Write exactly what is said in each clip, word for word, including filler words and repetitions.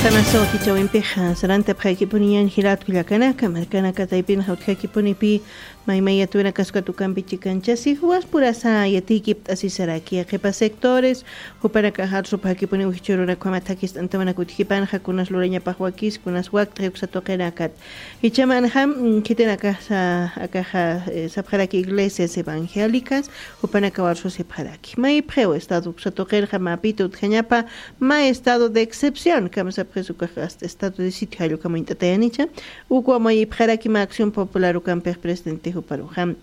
Tamaso kichawimpixa sarantapxakipuniñan jilatku llakanaka markanaka taypinxa utjakipunipi, maymayatuwinakasukatukampi chikanchasi juwaspurasa yatiykipt'asisaraki qhipa sectores jupanakaxa arsupxakipuni ujchurunakama thakist'antawanak utjipanxa kunas lurañapax wakis kunas wakt'xi uksatuqinakat. Jichamanxa khitinakaxa akaxa sapxaraki iglesias evangélicas jupanakawarsusipxaraki maypxiw estado uksatuqinxa mapita utjañapa ma estado de excepción kama sapxisukax asta estado de sitio jallukama int'atayanicha. Ukwa mayipxaraki ma acción popular ukampix presidente juparuxa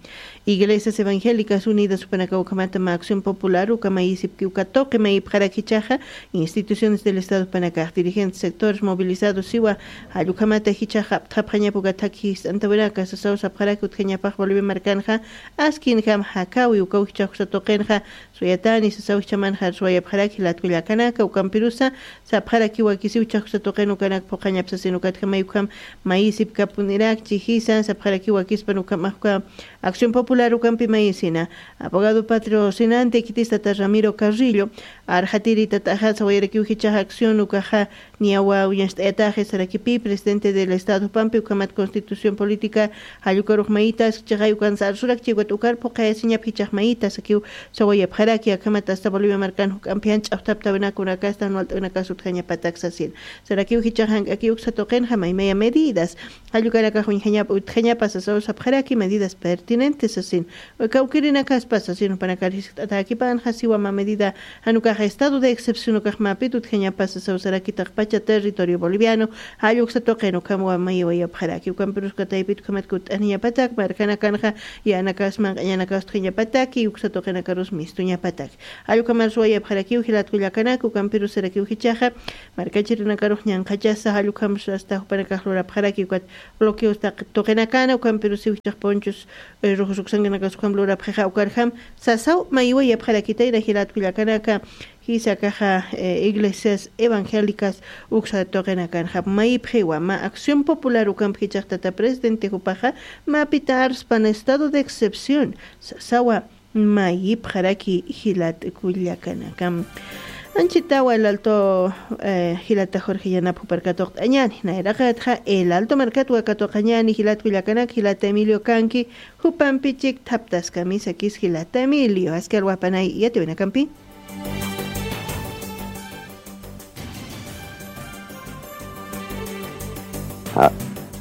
iglesias evangélicas unidas jupanakaw ukhamata ma acción popular ukamayisipki ukatoqi mayipxaraki chaxa instituciones del estado jupanakax dirigentes sectores movilizados siwa jallukhamata jichaxa apthapxañapuka thakhi jist'antawinaka sasaw sapxaraki utjañapax bolivia markanxa askinjam jakawi ukaw jichaxusatuqinxa suyatani sasaw jichamanxa suwayapxaraki jilatku llakanaka ukampirusa sapxarakiwa kisiw chajkusatuqin ukanak phuqañapsasin ukatjamay ukham mayisipkapunirakchi jisa sapxarakiwa kispan ukhamaxka acción popular ukampi mayisina abogado patrocinante khitistata ramiro carrillo arxatiritataxa sawayarakiw jichaxa acción ukaxa niyawa uñast'ayataxi sarakipi presidente del estado jupampi ukhamat constitución política jallukarux mayitas chixay ukansa arsurak chiwkat ukar phuqayasiñap jichax mayitas akiw sawayapxaraki akhamat asta bolivia markan juk'ampi jan ch'axtaptawinakunakasta jan walt'awinakas utjañapatak sasin sarakiw jichax jank'akiw uksatuqinxa maymaya medidas jallukanakax uñjañapa utjañapa sasaw sapxaraki medidas pertinentes sasin kawkirinakaspa sasin jupanakar jiskt'atäkipanxa siwa mä medida jan ukax estado de excepción ukax mapit utjañapa sasaw sarakitaqpacha territorio boliviano jalluksa tuqin ukham wamayiwayapxaraki ukampirus kataypit ukhamat kutt'aniñapatak markanakanxa yanakas manq'añanakas utjañapataki uksa tuqinakarus mistuñapatak jallukhamar suwayapxarakiw jilatku llakanak ukampirus sarakiw jichaxa markachirinakarux ñanqhachasa jallukhamsa asta jupanakax lurapxaraki ukat bloqueos tuqinakana ukampirusiw jichax ponchos rujusuksankanakasukam lurapxixa ukarjam sasaw mayiwayapxarakitayna jilatku llakanaka jisa kaxa iglesias evangélicas uksa tuqinakanxa mayipxiwa ma acción popular ukampi jichaxtata presidente jupaxa mapita arspan estado de excepción sasawa mayipxaraki jilatku llakanaka. Anchitawa el alto jilata jorge yanap juparkatuqt'añani nayraqatxa el alto markatwa katuqañani jilatku llakanak jilata emilio kanki jupampi chikthaptaskami sakis jilata emilio askar wapanay yatiwinakampi.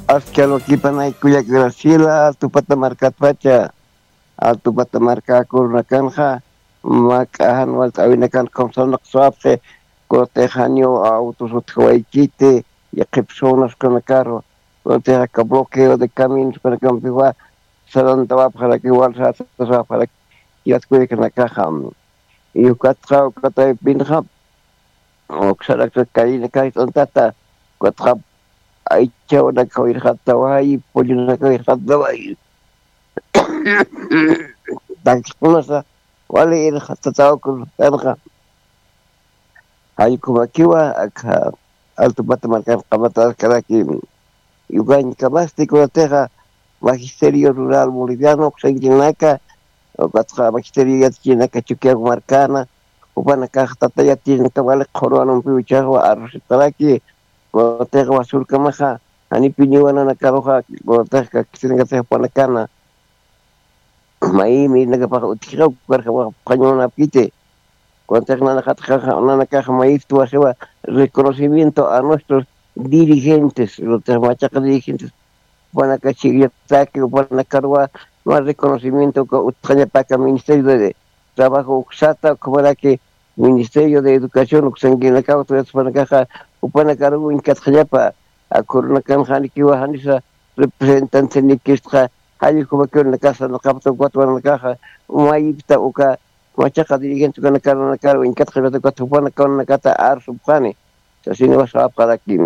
Askar wakipanay kullak graciela altupata markatpacha altupata markakurunakanxa mak'ajan walt'awinakan kamsanaqsapxi kutixaniw autos utjawaykiti yaqhipsunas kanakaru kutixaka bloqueo de caminos kanakampiwa sarantawapxaraki walsatasawaparak yatkuyakanakaxa yukatxa ukataypinxa uksaraksa kallinakayt'antata ukatxa aychawanakawirxataway pullunakawirxataway takiskunasa wali irxatatawakun kanxa jallkumakiwa akha altupata markan qamataskaraki yukañkamasti kunatixa magisterio rural boliviano uksankinaka ukatxa magisterio yatachinaka chukiaku markana jupanakax tata yatachinaka wali qhurwanumpi uchaxwa arrusitaraki kunatixa wasurkamaxa janipiniwananakaruxa kunatixa kakisirinakatix jupanakana mayimi nakapax utjixa ukarjamax phañunapkiti kunatixa nanakax mayiptuwaxiwa reconocimiento a nuestros dirigentes kunatixa machaqa dirigentes upanaka chikllataki upanakaruwa ma reconocimiento uka utqañapaka ministerio de trabajo uksata ukhamaraki ministerio de educación uksankinakaw tuyatuspanakaxa upanakaruwa uñkatqañapa akhurunakan janikiwa janisa representante nikistxa jallkumakirunakas sanaqapta ukatwanakaxa mayipta uka machaqa dirigente ukanakarunakarwa inkatxirata ukat jupanakawanakata arsupxani sasiniwasapxaraki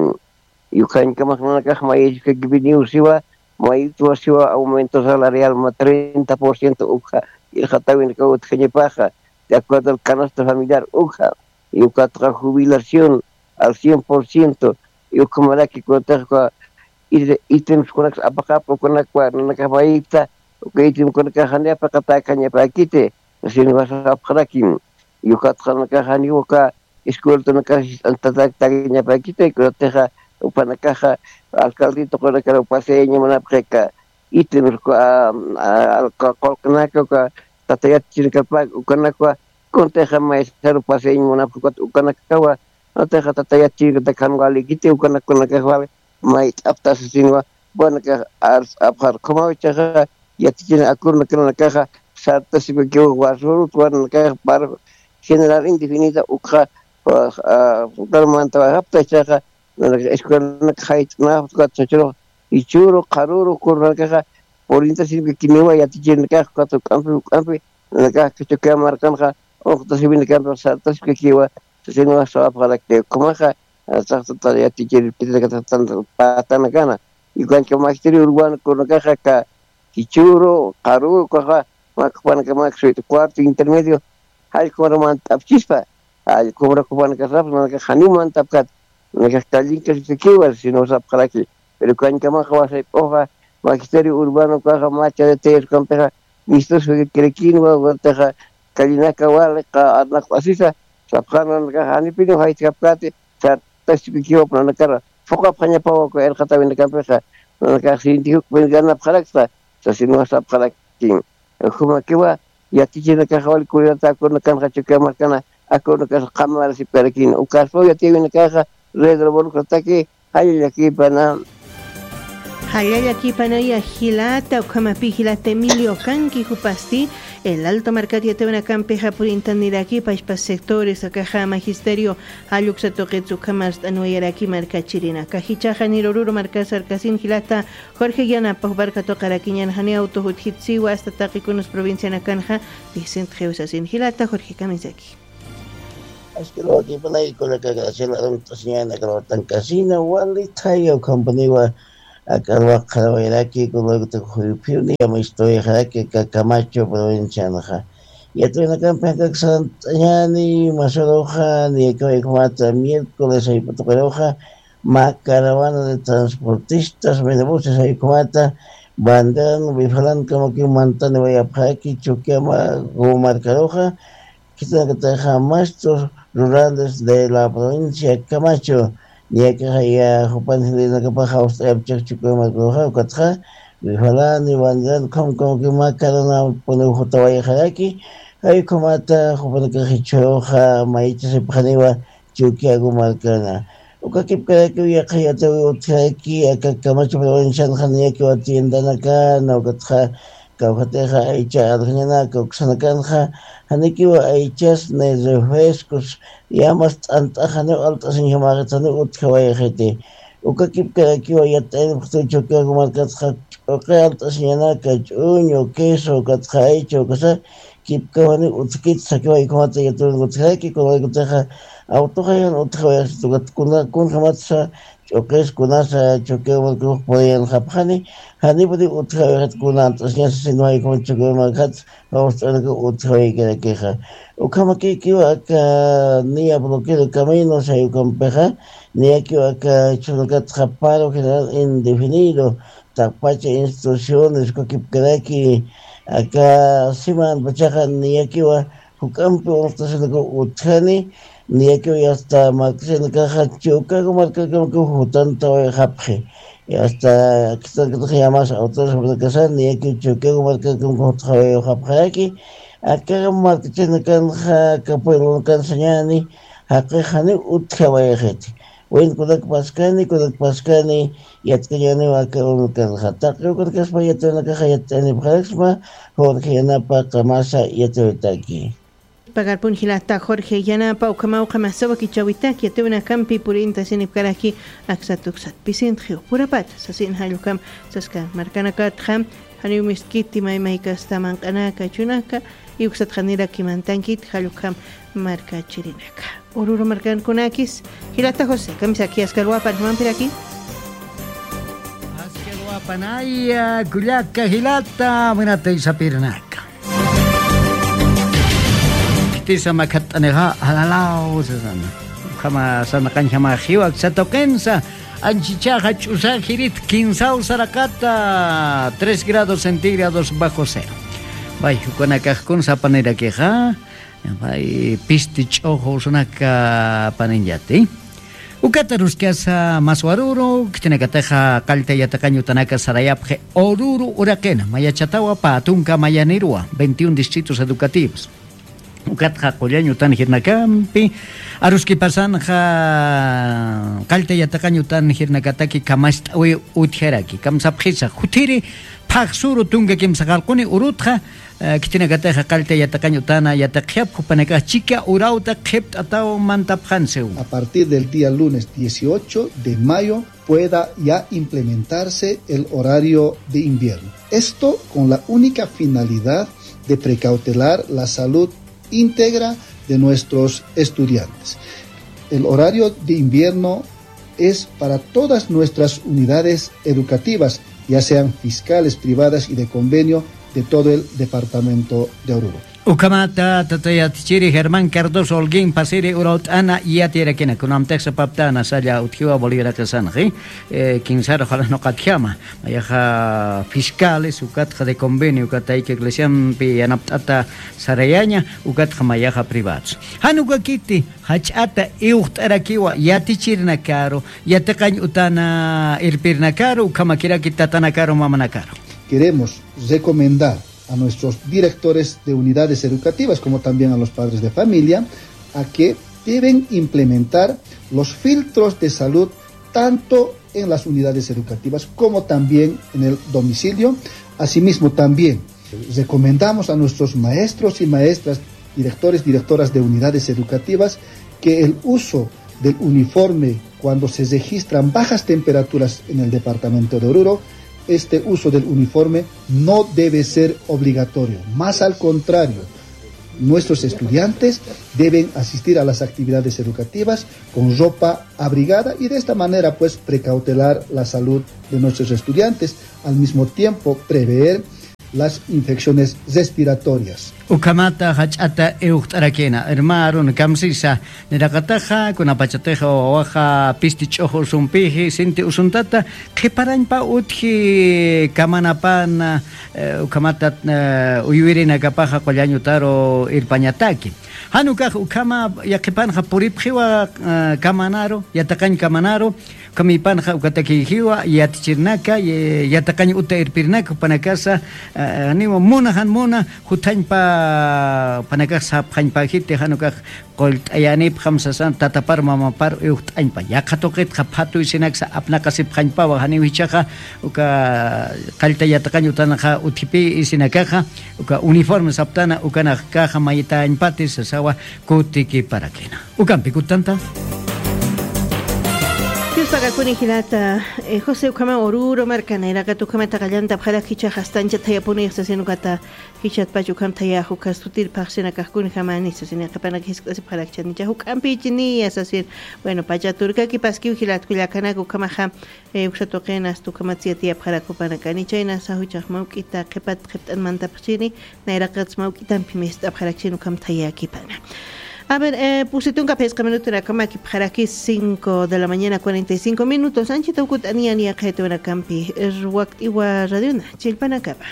yukañkamaxnanakax mayisukakipiniw siwa mayitwa siwa aumento salarial ma treinta por ciento ukxa irxatawinakaw utjañapaxa de acuerdo al canasta familiar ukxa yukatxa jubilación al cien por ciento yukhamaraki kunataxka ítemskunakas apaqapa ukanakwa nanakax mayipta uka ítemkunakax jani apaqatäkañapäkiti sasiniwasapxaraki yukatxa nanakax janiw uka escueltanakax jist'antataktagañapäkiti, kunatixa jupanakaxa alcalde tuqinakar upasayañamunapxi aka ítems, qullqinaka uka tata yatichirkapak ukanakwa, kunatixa maestar upasayañamunapxi ukat ukanakawa, kunatixa tata yatichirkatak jan walïkiti ukanakax wali mayt'apta sasinwa, jupanakax ars'apxar. Ukhamaw ichaxa yatichina acuerdonakanakaxa sartasipakiwa, wasürut jupanakax paro general indefinida ukxa, ukaru mantawayxapta ichaxa, escuelanakax jayt'anapxta ukat sachurux jichhüru qharüru ukanakaxa purintasipakiwa yatichirinakax ukat juk'ampi juk'ampi, nanakax Chukiyawu markanxa unxtasiwinakampix sartasipakiwa sasinwa sawapxarakti. Ukhamaxa, saxtata yatichiripkitanakat patanakana, y ukankama magisterio urbano kunakaxa aka jichhüru qharüru ukaxa, mä jupanakamak suwit cuarto intermedio jallk'umar mant'apchispa, jallk'umar jupanakasapxi, nanakax janiw mant'apkät, nanakax callinkasipkiwa sino sapxaraki. Pero ukankamaxa wasayp'uxa magisterio urbano ukaxa mä charitayas ukampixa listos jikirakinwa, ukantixa callinaka wali arnaqt'asisa, sapxäna nanakax janipiniw jayt'kapkäti, sartasipakiwa nanakar phuqhapxañapawa uka irqatäwinakampixa, nanakax sinti juk'pin ganapxaraksa sasinwa sapxarakin. Jumakiwa yatichirinakaxa wali cuidata acuerdonakanxa Chukiyawu markana acuerdonakas qhamarasipkarakini. Ukaspaw yatiyäwinakaxa red revolucionataki, jallallakipana. Jallallakipana ya jilata, ukhamapï jilata Emilio kanki jupasti, El Alto markat yatiyäwinakampixa purintanirakipa, jichhas sectores akaxa magisterio jall uksa tuqits ukham arst'anwayaraki markachirinaka. Jichhaxa janir Oruro markas sarkasin jilata Jorge Yanapa, juparka tuqarakiñan janiw awtux utjitsiwa, hasta taqi kunsa provincianakanxa pisintxiw sasin. Jilata Jorge, kamisaki. Askar wakipanay kunaka Graciela Arunta señana kalwatankasina wali thaya ukhampaniwa, aka alwaq qharawayraki kunaka juyuphiwni yamistawayxaraki aka Camacho provincianxa. Yatiyäwinakampi akak sarant'añäni masuruxa, niyakiw ukhamata miércoles jayp'u tuqiruxa, mä caravana de transportistas, menabuses jay ukhamata, Banderan, Bifalankamaki mantaniwayapxaraki Chukiyawu markaruxa, khitinakatixa maestros rurales de la provincia Camacho, niyakixa ya jupan jilinakapaxa awst'ayapchix Chukiyawu markaruxa, ukatxa Bifalani, Banderan, ukham ukham mä caravanapunïw jutawayxaraki, jay ukhamata jupanakax jichhüruxa maychasipxaniwa Chukiyawu markana. Uka kipkarakiw yaqha yatiwi utjaraki aka Camacho provincianxa niyakiw tiendanakana, ukatxa kawkhatixa aycha arxañanaka uksanakanxa, janikiw aychas ni refrescos, yamas t'ant'ax janiw alt'asiñjamäxit, janiw utjawayxiti. Uka kipkarakiw yatt'ayanipxtiw Chukiyawu markatxa ch'uqi alt'asiñanaka, ch'uñu, queso, ukatxa aycha, ukasa, kipkaw janiw utjkit sakiwa ukhamata yatiyäwinaka utjaraki, kunawaykuntix awtuxa jan utjawayxit, ukat kuna, kunjamatsa ch'uqis kunasa Chukiyawu markarux puriyanxapxani, janipuniw utjawayxit kuna ant'asiñasa, sino jay ukhamat Chukiyawu markat awst'ayanakaw utjawaykarakixa. Ukhamakikiwa aka niya bloqueo de caminos jay ukampixa, niyakiw aka jichhürunakatxa paro general indefinido, taqpacha instituciones, uka kipkaraki, aka siman pachaxa niyakiwa juk'ampi unxtasinakaw utjani, niyakiw hasta markasinakaxa Chukiyawu markakamakaw jutantawayxapxi. Hasta khitinakatix yamas autores jupanakasa niyakiw Chukiyawu markakamakaw jutawayxapxaraki, aka markachinakanxa, aka pueblonakan sañäni, jaqix janiw utjawayxiti. Bueno, kunak paskani, kunak paskani, yatkañäniw aka urunakanxa. Taqi ukanakaspa yatiyäwinakaxa yatt'ayanipxaraksma, Jorge Yanapa qamasa yatiyäwitaki. Pagarpun jilata Jorge Yanapa, ukhamaw qamasa wakichäwitak yatiyäwinakampi purintasinipkaraki aksat uksat pisintxiw purapata sasin jall ukham saska markanakatxa, janiw mistkiti maymaykasta manq'anaka, chunaka, y uksat janirakimantankit jall ukham markachirinaka. Oruro markankunakis, jilata José, kamisaki askar wapan, jumampiraki. Askar wapanaya, kullaka jilata, munatay sapirinaka. Khitisa makhatt'anixa, alalaw, sasana. Ukhama sanaqañjama jiwa, aksa tuqinsa, anchichaxa ch'usa jirit kinsaw saraqata, tres grados centígrados bajo cero. Bay, ukanakax kun sapanirakixa, Ay, pisti ch'uxu usunaka paniñati. Ukat aruskasa maswaruru, khitinakatixa qallta yatiqañ utanaka sarayapxi Oruro uraqina, mayachatawa pä tunka mayaniruwa, veintiún distritos educativos. Ukatxa qullañ utan jirnakampi, aruskipasanxa qallta yatiqañ utan jirnakataki kamast'awi utjaraki, kamsapxisa, jutiri phaxsuru tunka kimsa qarquni urutxa, eh, khitinakatixa qallta yatiqañ utana yatiqxapxi jupanakax chika urawta qhipt'ataw mantapxansiw. A partir del día lunes dieciocho de mayo pueda ya implementarse el horario de invierno. Esto con la única finalidad de precautelar la salud íntegra de nuestros estudiantes. El horario de invierno es para todas nuestras unidades educativas, ya sean fiscales, privadas y de convenio de todo el departamento de Oruro. Ukhamata tatayatichiri Germán Cardoso Holguín pasiri urawt'ana yatirakina, kunamtix sapaptana salla utjiwa Boliviaraqisanxi, eh, kinsar ojalá nuqatjama, mayaxa fiscales, ukatxa de convenio, ukatayki iglesiampi yanapt'ata sarayaña, ukatxa mayaxa privados. Jan ukakiti, jach'ata iwxt'arakiwa yatichirnakaru, yatiqañ utana irpirnakaru, ukhamakiraki tatanakaru, mamanakaru. Queremos recomendar a nuestros directores de unidades educativas, como también a los padres de familia, a que deben implementar los filtros de salud tanto en las unidades educativas como también en el domicilio. Asimismo, también recomendamos a nuestros maestros y maestras, directores, directoras de unidades educativas, que el uso del uniforme cuando se registran bajas temperaturas en el departamento de Oruro, este uso del uniforme no debe ser obligatorio. Más al contrario, nuestros estudiantes deben asistir a las actividades educativas con ropa abrigada y de esta manera, pues, precautelar la salud de nuestros estudiantes, al mismo tiempo prever las infecciones respiratorias. Ukhamata jach'ata iwxt'arakina, hermarun, kamsisa, niraqataxa, kunapachatixa wawaxa pisti ch'uxu usumpixi, sinti usuntata, qhiparañpa utji kamanapana, eh, ukhamata, eh, uywirinakapaxa qullañ utaru irpañataki. Jan ukax ukhama yaqhipanxa puripxiwa, eh, kamanaru, yatiqañ kamanaru, ukhamipanxa ukatakïjiwa yatichirnaka, ye-, yatiqañ uta irpirnaka, jupanakasa, eh, janiwa muna, jan muna, juthañpa, jupanakax sapxañpäjiti, jan ukax qullt'ayänipxam sasan, tatapar mamapar iwxt'añpa. Yaqha tuqitxa phatuy sinaksa apnaqasipxañpawa, janiw jichhaxa, uka qallta yatiqañ utanxa utjipi isinakaxa, uka uniforme saptana, ukanakaxa mayitañpati sasawa kutikiparakina. Ukampi kutanta. Diospaqa kuni jilata, eh, José ukhama Oruro marka nayraqat ukhamata qallantapxarak jichhax astañcha thayapuni sasin ukata jichatpach ukham thayax uka sutir phaxsinakax kunjamani sasin yaqhipanak jiskt'asipxarakchanicha juk'ampichiniya sasin. Bueno, pacha turkakipaskiw jilat kullakanak ukhamaxa, eh, uksa tuqin asta ukhamat siyatiyapxarak jupanakani chayna sajuchax mawk'ita qhipat qhipt'an mantapxchini, nayraqatsa mawk'itampi mist'apxarakchini ukham thayakipana. A ver, eh, pusi tunka phisqa minutonakamaki pharaki cinco de la mañana, cuarenta y cinco minutos. Anchita ukut'aniyan yaqhaytunakampi, eh, wakt'iwa radiona, chillpanakapa.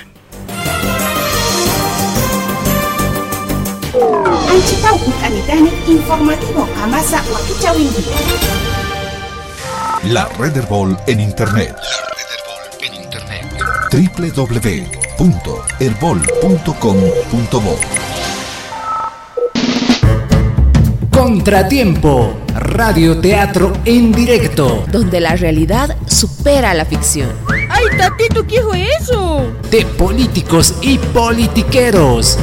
Anchita ukut'anitani informativo qamasa wakichawinki. La Red Erbol en Internet. La Red Erbol en Internet. W W W punto erbol punto com punto bo. Contratiempo, radioteatro en directo. Donde la realidad supera la ficción. ¡Ay, tatito, qué fue eso! De políticos y politiqueros.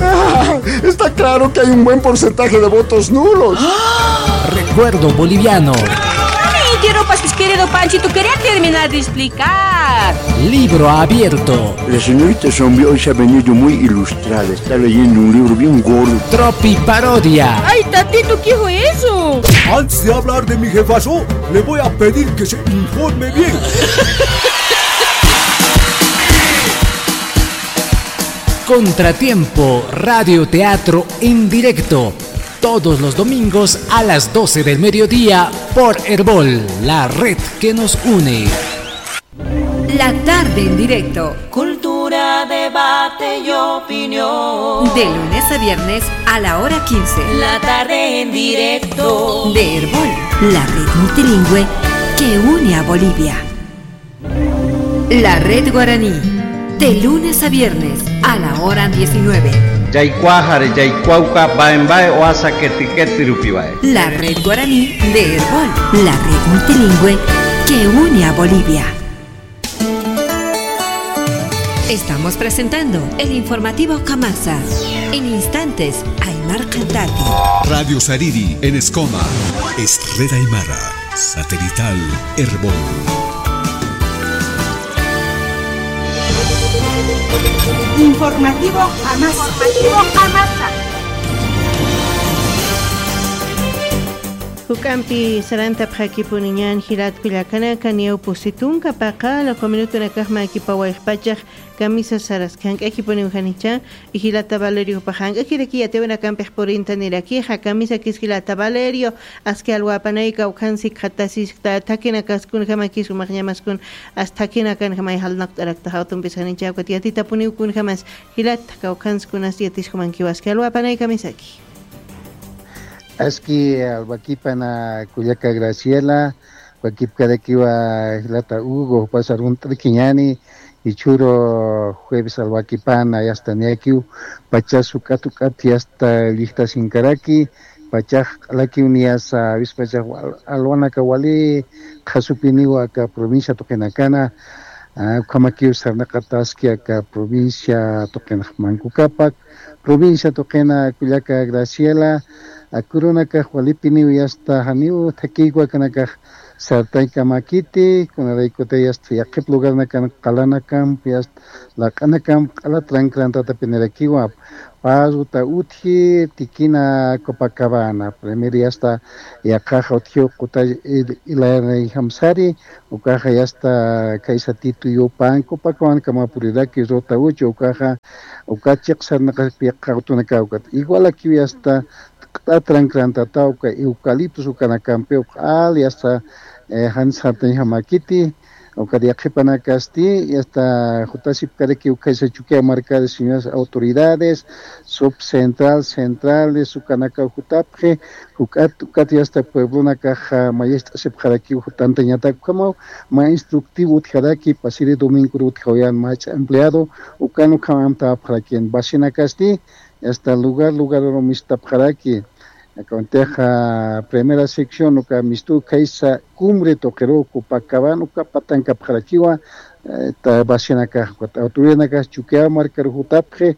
Está claro que hay un buen porcentaje de votos nulos. Recuerdo boliviano. Ay, quiero pasis, querido Panchito, quería terminar de explicar. Libro abierto. La señorita Zombie hoy se ha venido muy ilustrada. Está leyendo un libro bien gordo. Tropiparodia. ¡Ay, tatito, qué fue eso! Antes de hablar de mi jefazo, le voy a pedir que se informe bien. Contratiempo, radioteatro en directo. Todos los domingos a las doce del mediodía por Erbol, la red que nos une. La tarde en directo. Cultura. Debate y opinión. De lunes a viernes a la hora quince. La tarde en directo. De Erbol, la red multilingüe que une a Bolivia. La red guaraní. De lunes a viernes a la hora diecinueve. Yaykuaxari, yaykuawka, baen bae, oasa keti keti rupiwae. La red guaraní de Erbol, la red multilingüe que une a Bolivia. Estamos presentando el informativo Kamasa. En instantes, Aymar Cantati. Radio Sariri en Escoma. Es red aymara, satelital Erbol. Informativo Kamasa. Informativo Kamasa. Juk'ampi sarantapxakipuniñan jilat kullakanaka, niyaw pusi tunka paqallaq minutunakax makipawayxpachax kamisa saraski. Jank'akipuniw janicha, jilata Valeriopax jank'akiraki yatiyawinakampix purintanirakixa, kamisakis jilata Valerio, aski alwapanay kawkhansi khatasiskta, thakinakaskun jamakis umaxñamaskun, as thakinakan jamay jalnaqt'araktax awtumpis janicha, ukat yatitapuniw kun jamas, jilata kawkhanskunas yatiskumankiw aski alwapanay kamisaki. Aski alwakipana kullaka Graciela, wakipkarakiwa jilata Hugo, pasar un triquiñani, ichhuru jueves alwakipana, yasta niyakiw, pachas uk'at uk'at yasta llijtasinkaraki, pachax q'alakiw niyasa, avispachax wal-, alwanaka wali qhasupiniwa aka provincia tuqinakana, ah, ukhamakiw sarnaqataski aka provincia tuqinax mankukapak, provincia tuqina kullaka Graciela, akurunakax walipiniw yasta janiw thakiyku akanakax sartañkamakiti, kunaraykutay yasta yaqhip lugarnakan qalanakampi yasta laq'anakampi q'ala trankrantatapinirakiwa, pä ruta utji, tikina Copacabana, primero yasta yaqhaxa utjiw quta il-, ilanayjamsari, ukaxa yasta kaysa Tituyu pan Copacabanakamapurirakiw ruta uchi, ukaxa uka chiq sarnaqaspi yaqha awtunakaw ukat. Igualakiw yasta q'ata trankrantatawka eucaliptos ukanakampiw q'al yasta, eh, jan sartañjamakiti, ukat yaqhipanakasti, yasta jutasipkarakiw khaysa Chukiyaw markari señoras autoridades, subcentral, centrales, ukanakaw jutapxi, juk'at, ukat yasta pueblonakaxa mayist'asipxarakiw jutantañatak ukhamaw, mä instructivo utjaraki, pasiri domingor utjawayan mach'a empleado, ukan ukham amtapxarakin, vacinakasti, yasta lugar, lugar mistapxaraki. Akantixa primera sección, uka mistu khaysa cumbre tuqiru Copacabana, uka patankapxarakiwa, eh, ta vacinakax, ukat autoridadnakax Chukiyaw markaru jutapxi,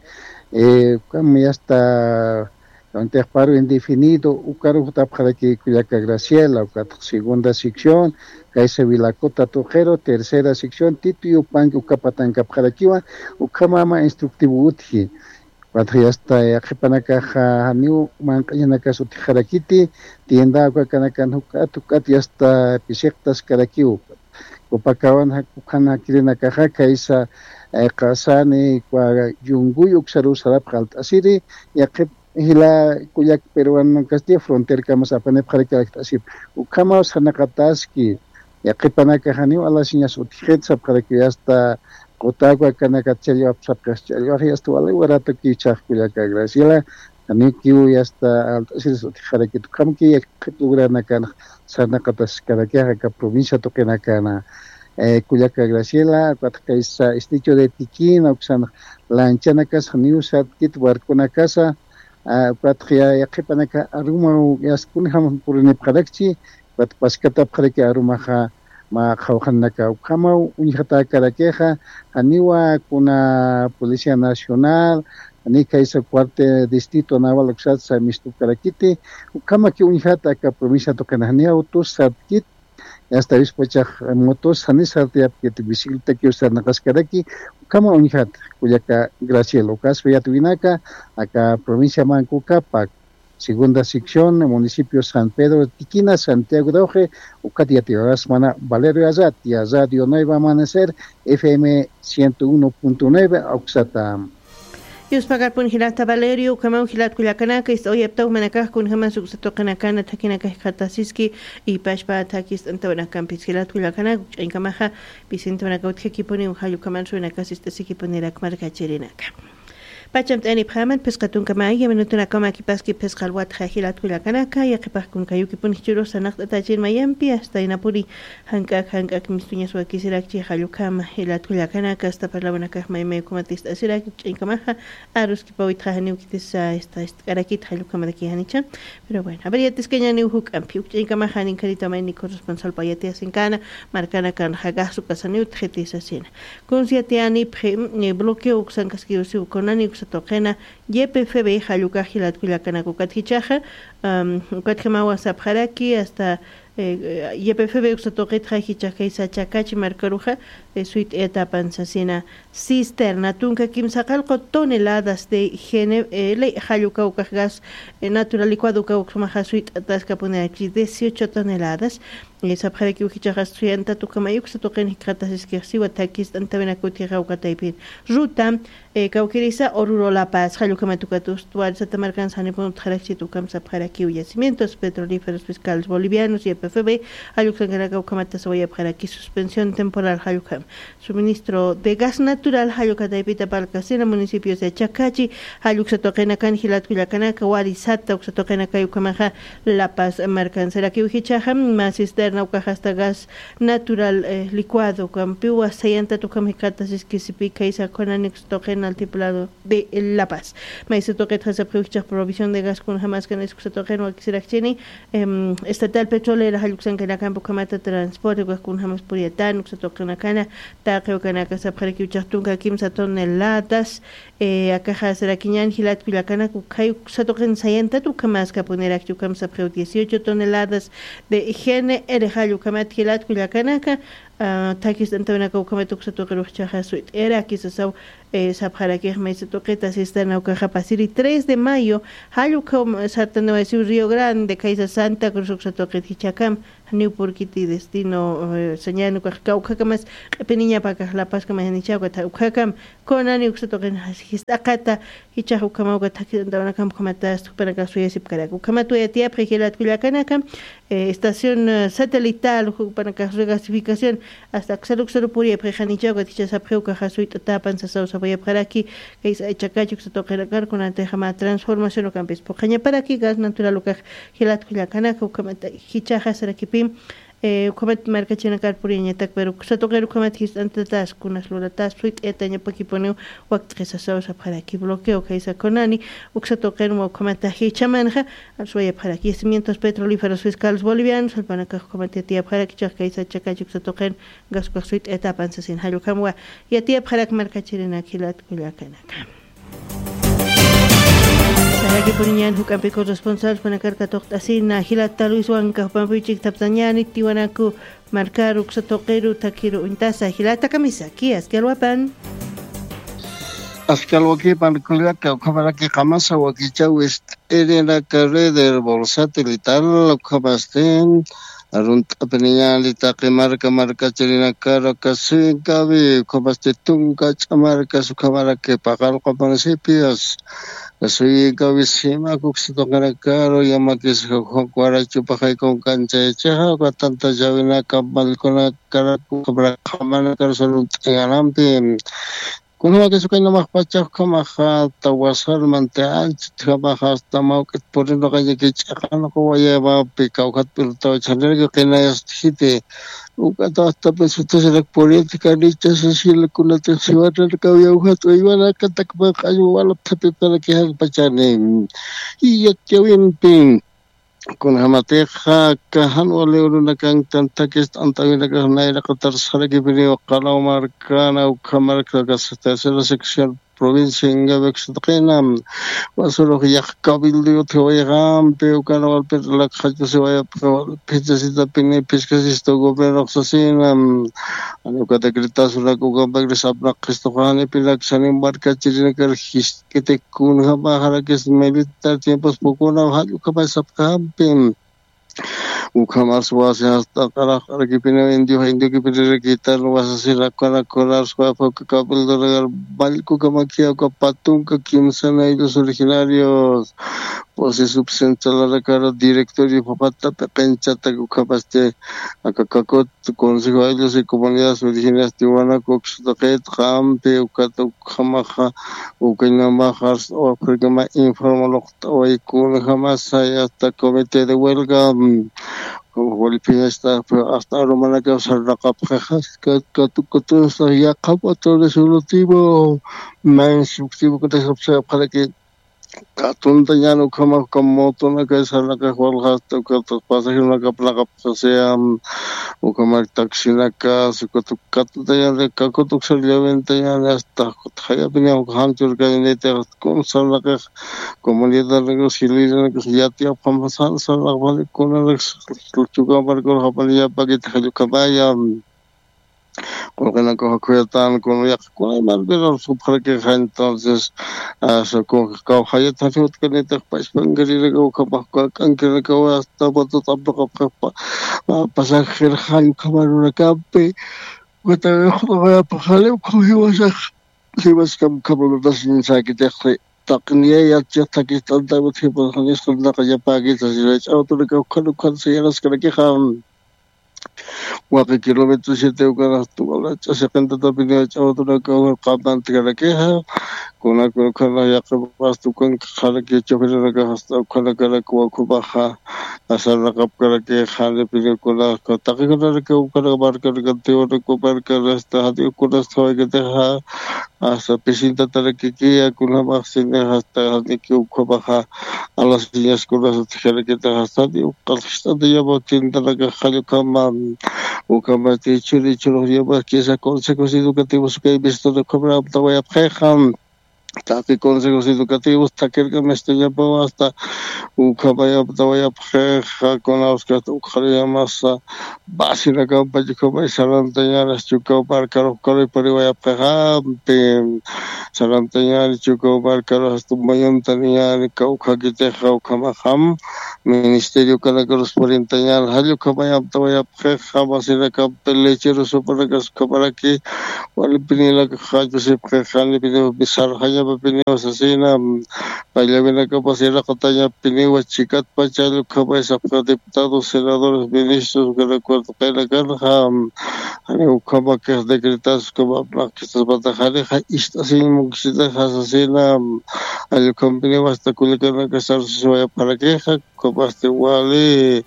eh, ukam yasta, akantixa paro indefinido, ukaru jutapxaraki kullaka Graciela, ukat segunda sección, khaysa Vilacota tuqiru, tercera sección, Tituyu panki, uka patankapxarakiwa, ukhama mä instructivo utji. Ukatxa yasta yaqhipanakaxa janiw manq'añanakas utjxarakiti, tienda ukakanakan juk'at, juk'at yasta pisiqtaskarakiw. Copacabana jan-, jan jakirinakaxa khaysa, eh, Qasani, Yunguy uksaruw sarapxi alt'asiri, yaqhip jila kullak peruanonakasti fronterkamas apanipxaraki alakt'asip. Ukhamaw sarnaqataski, yaqhipanaka janiw alasiñas utjxit sapxarakiw yasta, quta ukakanakat challwap sapxi, challwax yasta wali waratukiw chhax kullaka Graciela, janikiw yasta alt'asiris utjxarakit, ukhamkiw yaqhip lugarnakan sarnaqataskarakixa aka provincia tuqinakana. Eh, kullaka Graciela, ukat khaysa estrecho de Tiquina, uksan lanchanakas janiw sartkit barconakasa, ah, ukatxa ya-, yaqhipanaka arumaw yasta kunjam purinipxarakchi, ukat paskatapxaraki arumaxa mä qhawqhanaka ukhamaw uñjatäkarakixa, janiwa kuna Policía Nacional, jani khaysa cuarto distrito naval uksatsa mistukarakiti, ukhamaki uñjat aka provincia tuqina janiw autos sartkit, yasta avispachax motos jani sartayapkit bicicletakiw sarnaqaskaraki, ukhama uñjat kullaka Graciela, ukaspa yatiyäwinaka, aka provincia Manco Cápac, segunda sección, municipio San Pedro Tiquina, Santiago de Oje, ukat yatiyäwirasmana Valerio Arratia, Radio Nuevo Amanecer, F M ciento uno punto nueve, uksata. Yuspakarpun jilata Valerio, ukhamaw jilat kullakanaka, ist'awayaptaw jumanakax kunjamas uksa tuqinakana thakinaka jikxatasiski, ipachpa thakist'antawinakampis jilat kullakanaka, ukch'añkamaxa, Vicentewinaka utjakipuniw, jallukhaman suwinaka sist'asikipunirak markachirinaka. Pachamt'anipxaman, phisqa tunka maya minutunakama kipaski phisqa alwatxa jilat kullakanaka, yaqipaq kunkayukipun jichurus sanaqt'atachin mayampi, hasta inapuni, jank'ak, jank'ak mistuñas wakisirakchi jallukhama, jilat kullakanaka, hasta parlawanakax maymay ukhamat ist'asirak, ukch'añkamaxa, aruskipawitxa janiw kitisa, esta, ist'karakit jallukhamaraki janicha. Pero bueno, a ver, yatiskañaniw juk'ampi, ukch'añkamaxa, ninkharita mayni corresponsalpa yatiyasinkana, markanakan jagasu kasaniw txitisasina. Kunsi yatiyanipxi, mm, bloqueo uksankaskiwsiw kunani uksa tuqina, Y P F B jallukax jilat kullakanaka ukat jichaxa, am, ukat jamawa sapxaraki, hasta, eh, Y P F B uksa tuqitxa jichax kaysa Chakachi markaruxa, eh, suyt'ayatapan sasina cisterna tunka kimsaqallqu toneladas de G N L jalluka ukax gas, eh, natural licuado uka uksmaxa suyt'ataskapuniraki dieciocho toneladas, eh, sapxarakiw jichaxa suyantatukamay uksa tuqin jikxatasiskix siwa thakist'antawinaka utjixa uka taypin. Ruta, eh, kawkirisa Oruro La Paz, jallukhamat ukat ustuarisata markan sanipun utjarakchit ukham sapxarakiw Yacimientos Petrolíferos Fiscales Bolivianos, Y P F B, jalluksankanaka ukhamata sawayapxaraki suspensión temporal jallukham. Suministro de gas natural jallukha taypita palkasina municipios de Chacachi, jalluksa tuqinakan jilat kullakanaka, warisata uksa tuqinakay ukhamaxa La Paz markan. Sarakiw jichaxa, mä cisterna ukaxa hasta gas natural, eh, licuado, kampiwa sayantatukham jikxatasiski sipi kaysa kunani uksa tuqin altiplado de La Paz. Maysa tuqitxa sapxiw jichax provisión de gas kunjamaskan uksa tuqin wakisirakchini, em, estatal petrolera jalluksankanakampi ukhamata transporte ukax kunjamas puriyatan uksa tuqinakana, taqi ukanaka sapxarakiw jichax tunka kimsa toneladas, eh, akaxa sarakiñan jilat kullakanaka, ukhay uksa tuqin sayantat ukhamaskapuniraki ukham sapxiw dieciocho toneladas de G N L jallukhamat jilat kullakanaka, ah, thakist'antawinaka ukhamat uksa tuqirux jichaxa suyt'ayaraki sasaw, eh, sapxarakix maysa tuqita cisterna ukaxa pasiri tres de mayo, jallukhaw sartanawaysiw Río Grande, kaysa Santa Cruz uksa tuqit jichhakam, janiw purkiti destino, eh, sañan ukax kawkhakamas q'ipiniñapa akax La Pazkama janichawka tha ukhakam, kunani uksa tuqin jist'aqata, jichax ukhamawka thakist'antawinakam ukhamata jupanakax suyasipkarak. Ukhamat wayatiyapxi jilat kullakanaka, eh, estación, eh, satelital, jupanakax regasificación, hasta aksaru aksaru puriyapxi janichawka jichha sapxiw ukaxa suyt'atapan sasaw sapayapxaraki, kaysa Chakachi uksa tuqinakar kunatixama transformación ukampis phuqhañaparaki gas natural ukax jilat kullakanaka ukhamata jichaxa sarakipim, eh, ukhamat markachinakar puriyañatak, pero uksa tuqir ukhamat jist'antatas, kunas luratas, suyt'ayatañapakipuniw wakt'qisasaw sapxaraki bloqueo kaysa kunani, uksa tuqirma ukhamata jichhamanxa, suwayapxaraki Yacimientos Petrolíferos Fiscales Bolivianos, jallpanakax ukhamat yatiyapxaraki, jichhax kaysa Chakachi uksa tuqin, gas ukax suyt'ayatapan sasin jallukhamwa, yatiyapxarak markachirinak jilat kullakanaka. Sarakipuniñan juk'ampi corresponsal jupanakar katuqt'asina, jilata Luis Huanca, jupampi chiktaptañani, Tiwanaku markaru uksa tuqiru thakiru uñtasa, jilata kamisaki, aski alwapan. Aski alwakipan kullaka, ukhamaraki qamasa wakichaw ist'irinaka red herbol satelital, ukhamasti, arunt'apiniñani taqi marka markachirinakaru, aka suyinkawi, ukhamasti tunka ch'amarkas, ukhamaraki paqallqu municipios, suyinkawi simak uksa tuqinakaru, yamakis jukwarachupaxay kunkanchayachixa, uka tantachawinaka, mallkunakaraku, ukhamara qhamanakaru sarunt'añanampi. Kunjamakis ukañ namax pachax ukhamaxa, tawasar manti anchit ukhamaxa, hasta mawk'it purinuqañaki ch'iqanuqawayamapi, kawkhat pirutaw chhaniraki qinayastjiti. Ukata hasta pesutasirak puriyatkanicha sasila kunatix siwarnarkaw yawjat uywanakatakman q'añu walapthapipanaki jakpachani. Iyat yawimpi. Kunjamatixa, kajan wali urunakan tantakist antawinakax nayraqatar sarakipiniw qalaw markana, ukha marka, tercera sección provincia Ingavi uksa tuqina, wasurux yaq cabildo utjiwayxampi, ukana walpir lakxachusiwayapxi, walphichasitapini phiskasistu gobiernox sasina, ani uka decretasunak ukampakri sapnaqxistuxa, janipinak sanin markachirinakar jis kiti kunjamaxarakis militar tiempos pukunaw jall ukhamay sapkajampi. Ukhamas wasi hasta q'araq'arakipiniw indio, indio kipinirakita, wasasina kuna kuna suapa uka kapildonagar, mallkukamakiya uka patunka kimsa naylus originarios, pues subcentralanakara directorio papata peqenchata ukhamasti, aka kakut Consejo Ayllus y Comunidades Originarias Tiwanaku, uksuta qit qampi ukata ukhamaxa, ukañamaxa, Africama informa luqt'away kunjamasa, hasta comité de huelga, mm, Walipiñasta, hasta arumanaka sarnaqapxaxa, katukutunsa yaqhap autores ulutivo, man suktivo kutasapxaraki, katuntañan ukhama, ukhama motonaka sarnaqax walxasta, ukhata pasajeronakap naqapxasaya, ukhama taxinaka, sukutu katuntañan, kakutuk sarllawintañan, hasta jayapini uka janchurkañanita, kun sarnaqax, comunidadnaka, hilirnaka, yatiyapxam, san sarnaqpani, kunanak, Chukaw markar japani yapakit jallukhamaya. Qullqinakaw khuyatan, kuna yaqha kunay markar supxarakixa, entonces, ah, kawjayat jani utkanitix pachpankarinakaw, ukhamax k'ankirinakaw, hasta botot'apnaqapxax, pasajeroxa ukhama runakampi, watawiqt'awayapaxani, ukham jiwasax, jiwaskam ukhama runasiñasakitixi. Taqniyayat chiqthakist'antaw utjipaxanis qantaqa yapäkita, sirach'awtunakaw ukhan ukhan sayaraskarakixa. Waqi kilómetro siete ukanax tumalach'a siqintatapiniw ch'awtunakaw qamant'karakixa. Kuna kuna ukanax yaqipasta ukan qharaki choferanakax hasta ukanakarak wakupaxa, asarnaqapkarakixa, janipiniw kuna taqi kunaraki ukanak markanaka, tiwanaku markanaka, hasta jani ukanas qhawaykatixa, hasta pisintatarakiki, kunamaxsini, hasta janiki ukhamaxa, alasiñas kunas utjarakitaxa, hasta jani uqalxist'ata yama chintanakax jallukama, ukhamati churi churux yama kisa consejos educativos kay visitana ukhamara aptawayapxixa. Taqi consejos educativos takirkamistañapaw, hasta ukhamayaptawayapxixa, kunawskasta ukxariyamasa, basinakampacha ukhamay sarantañanas Chukaw markarux karuypariwayapxixampi, sarantañani Chukaw markarux hasta mayuntaniñani kawkhakitixa, ukhamaxam ministerio kanakarus purintañan, jallukhamayaptawayapxixa, basinakampi lecheros supanakas ukhamaraki, walipinilakax jachusipxixa, janipiniw sarxañapapiniw sasina, pallawinakapas iraqatañapiniwa, chikatpacha jallukhamay sapxixa, diputados, senadores, ministros, ukanakuwa tuqinakanxa, jani ukhamakix decretas ukhama apnaqkistaspata janixa ist'asiñ munkisitaxa sasina, jallukhampiniw hasta kullakanakax sarsusiwayapxarakixa, ukhamasti wali,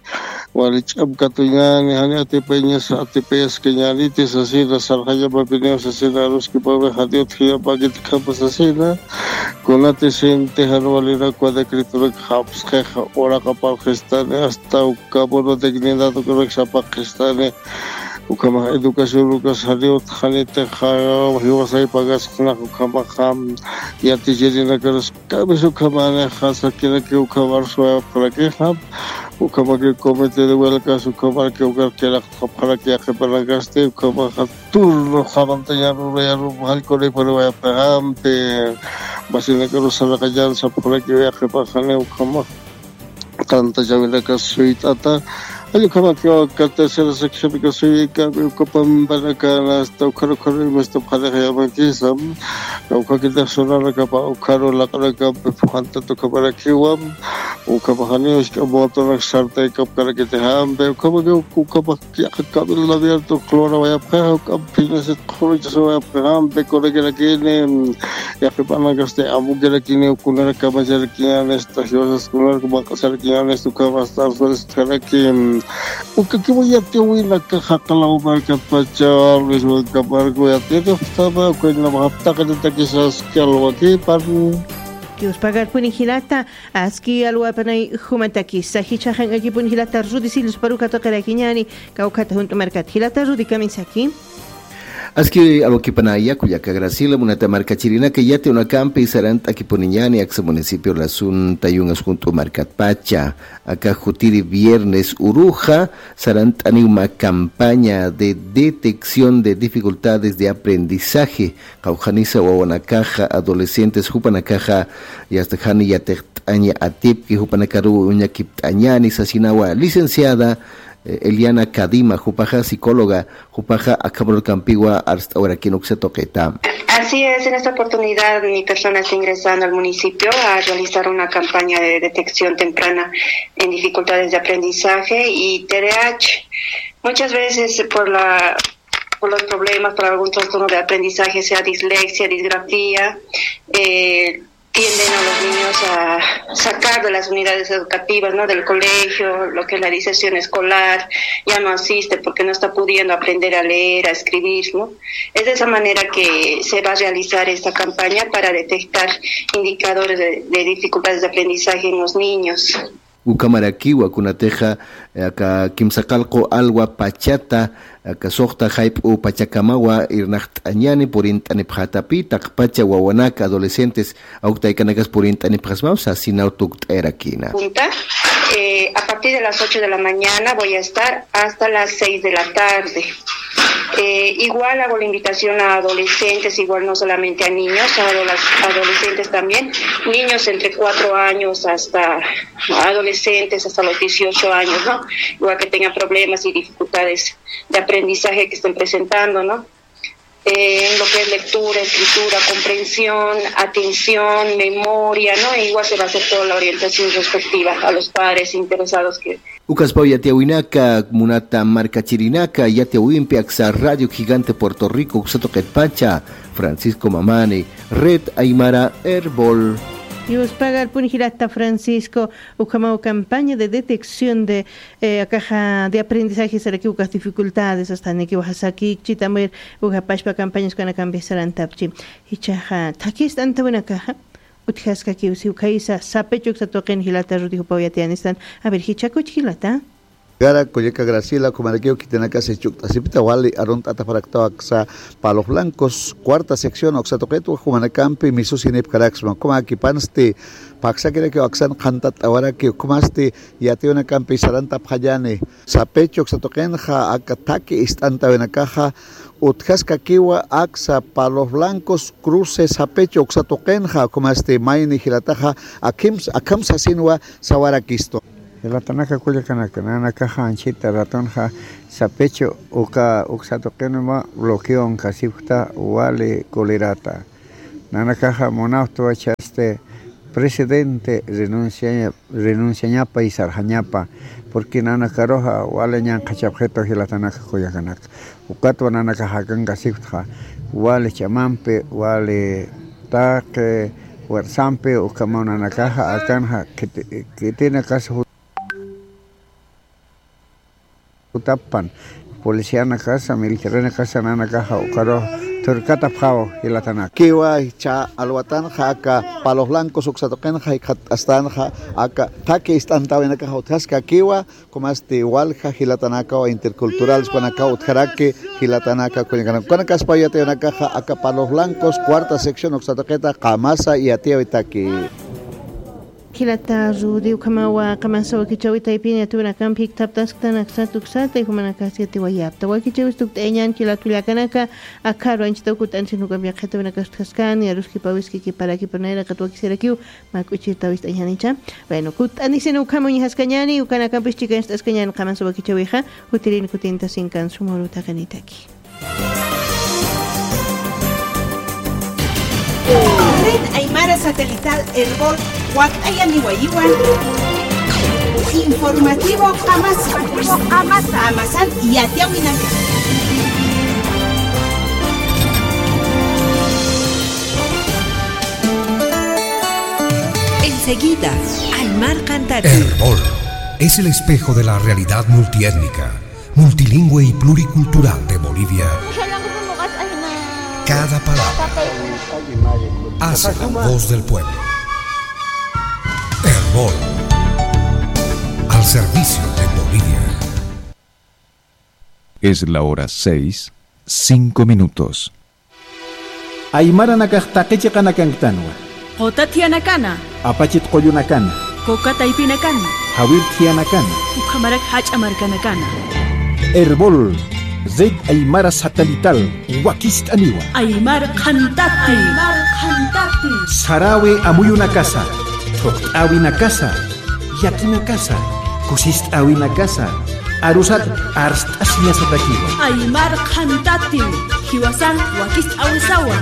wali ch'am katuñani, jani atipayañas, atipayaskañaniti sasina, sarxañapapiniw sasina, aruskipami jani utjañapäkiti ukhama sasina, kunati sinti jan walinakuwa decretonak japsxixa, uraqaparxistani, hasta uka bono dignidad ukanak sapaqxistani, ukhamax educación ukas jani utjanitixa, jiwasay pagasxnax ukhamaxa, yatichirinakarus Kamisukhamanixa sakiraki ukhamarus wayapxarakixa, ukhamaki comité de huelgas ukhamaraki ukar kiraqtxapxaraki yaqhipanakasti, ukhamaxa turno jamantañan urayarun jallkunipuni wayapxixampi, basinakarus sarnaqañan sapxaraki yaqhipaxani ukhamax tantachawinakas suyt'ata, jallukhamaki uka tercera seccionka suyikami uka pampanakana hasta ukharu ukharu imastapxanixa yamakisam, kawkhakitix sunanakapa ukharu laq'anakampi phuqhantata ukhamarakiwam, ukhamaxaniw jisk'a motonak sartaykapkarakitixampi, ukhamaki ukhamax yaqha cabildo abierto clora wayapxixa, ukham phiñasit qhuruchas wayapxixampi, kunakirakini, yaqhipanakasti amukirakini, kunarak kamacharakiñanista, jiwasas kunarak maq'asarakiñanista, ukham hasta arsuriskaraki, ukakiwa yatiyawinaka jaqalaw markatpacha, Luis Huanca Marco yatiyawinaka, ukañamax aptaqiritakisas kalwakipan. Dios pagarpuni jilata, aski alwapanay jumantakisa, jichhaxan allipuni jilata Rudy Silus paruka tuqirakiñani, kawkhata junt'u markat jilata Rudy kamisaki. Aski alwakipanaya, kullaka Graciela, munata markachirinaka, yatiyawinakampi sarant'akipuniñani aksa municipio Lasún Tayungas junt'u markatpacha, aka jutiri viernes uruxa, sarant'aniw mä campaña de detección de dificultades de aprendizaje, qawqhanisa wawanakaxa, adolescentes jupanakaxa, yasta jani yatiqt'añapax Aña atipki jupanakaruw uñakipt'añani sasinawa licenciada, eh, Eliana Cadima, jupaxa psicóloga, jupaxa akhamrukampiwa arst'awarakïn uksa tuqita. Así es, en esta oportunidad mi persona está ingresando al municipio a realizar una campaña de detección temprana en dificultades de aprendizaje y T D A H. Muchas veces por la, por los problemas, por algún trastorno de aprendizaje, sea dislexia, disgrafía, eh, tienden a los niños a sacar de las unidades educativas, ¿no? Del colegio, lo que es la deserción escolar, ya no asiste porque no está pudiendo aprender a leer, a escribir, ¿no? Es de esa manera que se va a realizar esta campaña para detectar indicadores de, de dificultades de aprendizaje en los niños. Ukhamarakiwa kunatixa, eh, aka kimsaqallqu alwa pachata, aka suxta jayp'u pachakamawa irnaqt'añani purint'anipxätapi, taqpacha wawanaka adolescentes, awk taykanakas purint'anipxasmaw sasinaw tukt'ayarakïna. Punta, eh, a partir de las ocho de la mañana voy a estar hasta las seis de la tarde. Eh, igual hago la invitación a adolescentes, igual no solamente a niños, a adoles-, adolescentes también, niños entre cuatro años hasta adolescentes, hasta los dieciocho años, ¿no? Igual que tengan problemas y dificultades de aprendizaje que estén presentando, ¿no? Eh, en lo que es lectura, escritura, comprensión, atención, memoria, ¿no? E igual se va a hacer toda la orientación respectiva a los padres interesados que Ukaspaw yatiyäwinaka, munata markachirinaka, yatiyäwimpi aksa Radio Gigante Puerto Rico uksa tuqitpacha, Francisco Mamani, Red Aymara Erbol. Yuspagarpun jilata Francisco, ukhamaw campaña de detección de, eh, akaxa de aprendizaje saraki ukas dificultades, hasta niki waja saki, chitamir, uka pachpa campañas kanakampis sarantapchi. Jichhaxa, thakist'antawinakaxa, utjaskakiw siw khaysa, sapichu uksa tuqin jilata Rudy jupaw yatiyanistan. A ver, jichhakuch jilata. Gara, kullaka Graciela, ukhamarakiw khitinakasa jichhukt'asipita wali arunt'ataparaktaw aksa Palos Blancos, cuarta sección, uksa tuqitwa, jumanakampi misusinipkaraksma. Ukhamakipansti, phaksakirakiw aksan qhantat'awaraki, ukhamasti yatiyäwinakampi sarantapxañani. Sapichu uksa tuqinxa, aka thaki ist'antawinakaxa, utjaskakiwa aksa Palos Blancos, Cruces, sapichu uksa tuqinxa, ukhamasti mayni jilataxa, akhams-, akham sasinwa sawarakistu. Jilatanaka kullakanaka, nanakaxa anchhita ratunxa sapichu uka uksa tuqinwa bloqueonkasipkta wali colerata. Nanakaxa munapxtwa jichhasti presidente renunciaña-, renunciañapa y sarxañapa, porque nanakaruxa wali ñanqhachapxitu jilatanaka kullakanaka. Ukatwa nanakax akankasipktxa, wali ch'amampi, wali taqi fuerzampi, ukhamaw nanakaxa akanxa khiti-, khitinakasa jutapan, policianakasa, militarinakasa nanakaxa ukarux thurkatapxaw jilatanaka. Kiwa jichha alwatanxa aka Palos Blancos uksa tuqinxa jikxatt'astanxa aka thaki ist'antawinakaxa utjaskakiwa, ukhamasti walja jilatanakaw intercultural jupanakaw utjaraki jilatanaka kullakanaka. Ukanakaspaw yatiyäwinakaxa aka Palos Blancos, cuarta sección uksa tuqita qamasa yatiyäwitaki. Jilata Rudy, ukhamawa qamasa wakichäwi taypin yatiyäwinakampi jikxatt'asktan aksat uksata, y jumanakas yatiyäwayapxta. Wakichäwis tukt'ayañän jilat kullakanaka, akharu anchhitaw kutt'anisin ukampi yaqhitawinakas utjaskani, aruskipawiski kiparaki, pero nayraqat wakisirakiw mä k'uchirtaw ist'añänicha. Bueno, kutt'anisin ukham uñjaskañäni, ukanakampis chikancht'askañäni qamasa wakichäwixa, jutirin kutintasinkan suma uru taqinitaki. Red Aymara Satelital Erbol wakt'ayaniwayiwan. Informativo Qamasa. Qamasan yatiyäwinaka. Enseguida, Aymar Qhantati. Erbol es el espejo de la realidad multiétnica, multilingüe y pluricultural de Bolivia. Cada palabra hace la voz del pueblo. Erbol, al servicio de Bolivia. Es la hora seis, cinco minutos. Aymaranakax taqi chiqanakanktanwa. Quta thiyanakana. Apachit qullunakana. Quka taypinakana. Jawir thiyanakana. Ukhamarak jach'a markanakana. Erbol, Red Aymara Satelital, wakist'aniwa. Aymar Qhantati. Aymar Qhantati. Sarawi amuyunakasa. Thuqt'äwinakasa, yakinakasa, kusist'äwinakasa, arusat arst'asiñasatakiwa. Aymar qhantatim, jiwasan wakist'äwisawa.